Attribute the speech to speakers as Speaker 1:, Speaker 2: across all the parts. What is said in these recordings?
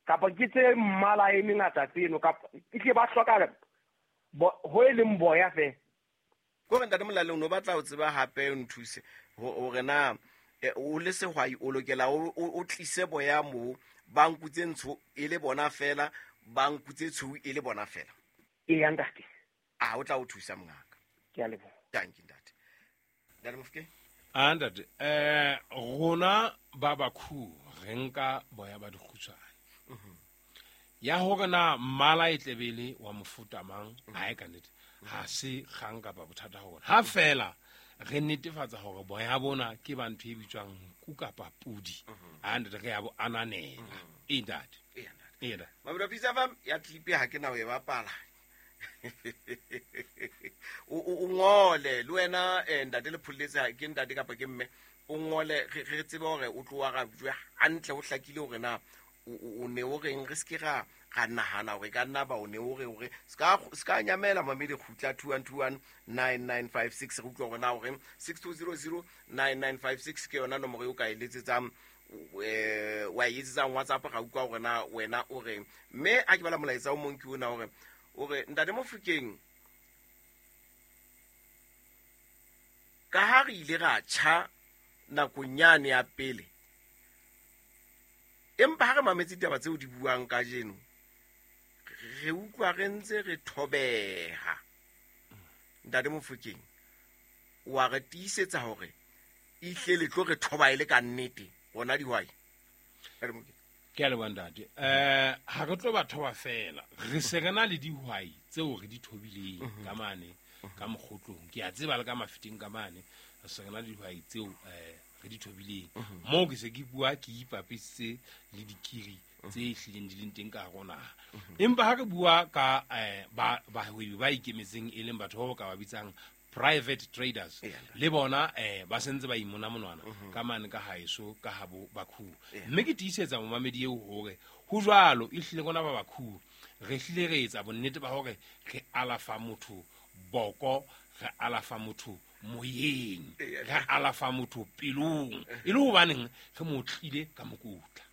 Speaker 1: Kapa ke tse mmala e mengata tseno, kapa e tle ba hloka ho e leng boya fela.
Speaker 2: Ko re ntate Molaleng, o no batla ho tseba hape, o nthuse hore na o le sehwai o lokela o tlise boya moo ba nku tse ntsho e le bona fela, ba nku tse tshweu e le bona fela.
Speaker 1: Eya ntate.
Speaker 2: A o tla o thusa mongaka.
Speaker 1: Ke a leboha.
Speaker 2: Thank you ntate. Ntate Mofokeng?
Speaker 3: A ntate, rona ba Bakhu re nka boya ba dikgutshwane. Ya hore na mmala e tlebele wa mofuta mang, ha e ka nnete, ha se kgang kapa bothata ho rona. Ha fela re netefatsa hore boya bona ke ba ntho e bitswang nku kapa pudi. A ntate, re ya bo ananela. E ntate.
Speaker 2: E ntate.
Speaker 3: E ntate.
Speaker 2: Mabelo Pizza Farm ya clip ha ke na ho e bapala. O ngole le wena, ntate le pholletse, ke ntate kapa ke mme, o ngole re tsebe hore o tlo arabjwe hantle, ho hlakile hore na o ne o reng, re seke ra nahana hore ka nna ba o ne o re hore se ka nyamela mamedi kgutla 21219956, re utlwa hore na o reng. 62009956 ke yona nomoro eo ka e letsetsang, wa e etsetsang WhatsApp, ra utlwa hore na wena o reng. Mme a ke bala molaetsa o mong ke ona, hore o re ntate Mofokeng, ka ha re ile ra tjha nakong yane ya pele, empa ha re mametse ditaba tseo di buang kajeno, re utlwa re ntse re thobeha. Ntate Mofokeng, wa re tiisetsa hore ehlile le tlo re thoba e le ka nnete rona dihwai? Ntate Mofokeng.
Speaker 3: Ke a leboha ntate. Ha re tlo ba thoba fela, re se re na le dihwai tseo re di thobileng ka mane ka mokgotlong. Ke a tseba le ka mafeteng ka mane, re se re na le dihwai tseo re di thobileng. Moo ke se ke bua ke ipapisitse le dikiri tse hlileng di leng teng ka hare ho naha. Empa ha re bua ka bahwebi ba ikemetseng, e leng batho bao ka ba bitsang private traders, le bona ba sentse ba imona monwana ka mane ka haeso ka habo Bakhu. Mme ke tiisetsa momamedi eo hore ho jwalo, e hlile rona ba Bakhu re hlile re etsa bonnete ba hore re alafa motho boko, re alafa motho moyeng, re alafa motho pelong, e le hobaneng re mo tlile ka mokotla.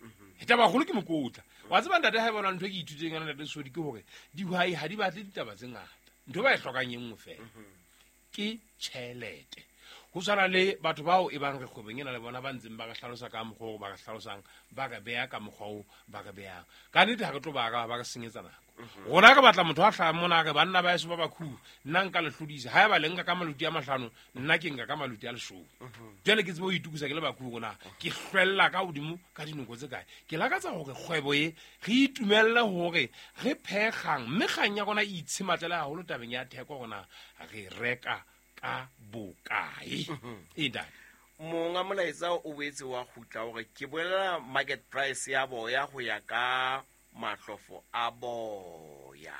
Speaker 3: E taba haholo ke mokotla. Wa tseba ntate, ha e bona ntho e ke ithutileng yona ntate Sodi, ke hore dihwai ha di batle ditaba tse ngata, ntho ba e hlokang e nngwe fela, ke tjhelete. Ho tshwana le batho bao e bang re kgwebong ena le bona ba ntseng ba re hlalosa ka mokgwa oo ba re hlalosang, ba re beha ka mokgwa oo ba re behang. Ka nnete ha re tlo ba araba, ba re senyetsa nako. Rona re batla motho a hlahang mona a re, banna ba heso ba Bakhu, nna nka le hlodisa. Haeba le nka ka maluti a 5, nna ke nka ka maluti a 10. Jwale ke tsebe ho itokisa ke le Bakhu rona, ke hlwella ka hodimo ka dinoko tse kae. Ke lakatsa hore kgwebo e re itumelle hore re phekgang, mme kgang ya rona e itshematlela haholo tabeng ya theko rona re reka ka bokae. E ntate.
Speaker 2: Monga molaetsa o boetse wa kgutla hore ke bolela market price ya boya ho ya ka mahlofo a boya.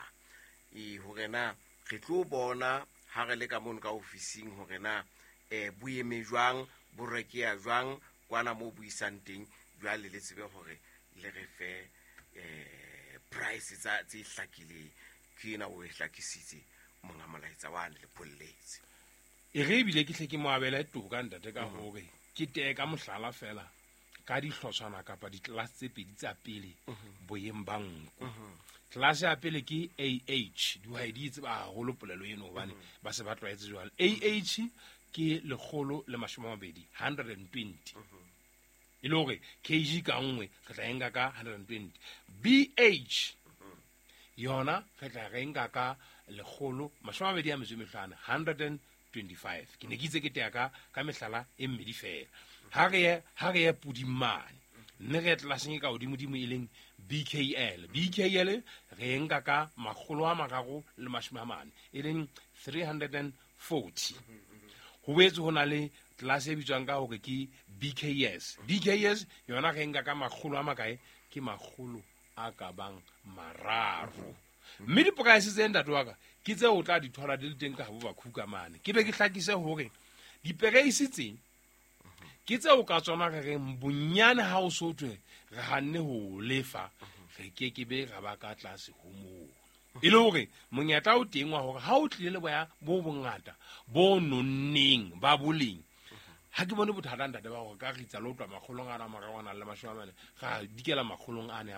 Speaker 2: E hore na re tlo bona ha re le ka mono ka ofising hore na bo eme jwang, bo rekeya jwang kwana moo buisang teng, jwale le tsebe hore le re fe price tsa tse hlakileng. Ke ena o e hlakisitse monga molaetsa wa ne le pholletse.
Speaker 3: E re ebile ke hle ke mo abele toka ntate ka hore ke tee ka mohlala fela ka dihlotshwana kapa ditlelase tse pedi tsa pele boyeng ba nku. Tlelase ya pele ke AH, dihwai di e tseba haholo polelo eno hobane ba se ba tlwaetse jwale. AH ke 120, 120. E le hore kg ka nngwe re tla e nka ka 120. BH yona re tla re nka ka 125, 125. Ke ne ke itse ke tea ka mehlala e mmedi fela. Ha re ye puding mane, mme re ye tlelaseng e ka hodimodimo e leng BKL. BKL re e nka ka 340, e leng 340. Ho boetse ho na le tlelase e bitswang ka hore ke BKS. BKS yona re e nka ka makgolo a makae? Ke 300. Mme diporaese tse ntate wa ka ke tseo o tla di thola di le teng ka habo Bakhu ka mane. Ke be ke hlakise hore dipereisi tse ke tseo ka tsona re reng bonyane ha o so thwe re hanne ho lefa, re ke ke be ra ba ka tlase ho mono. E le hore monyetla o teng wa hore ha o tlile le boya bo bongata bo nonneng ba boleng, ha ke bone bothata ntate ba hore ka ritsa le ho tloha makgolong ana a mararo a nang le mashome a mane, ra dikela makgolong ane a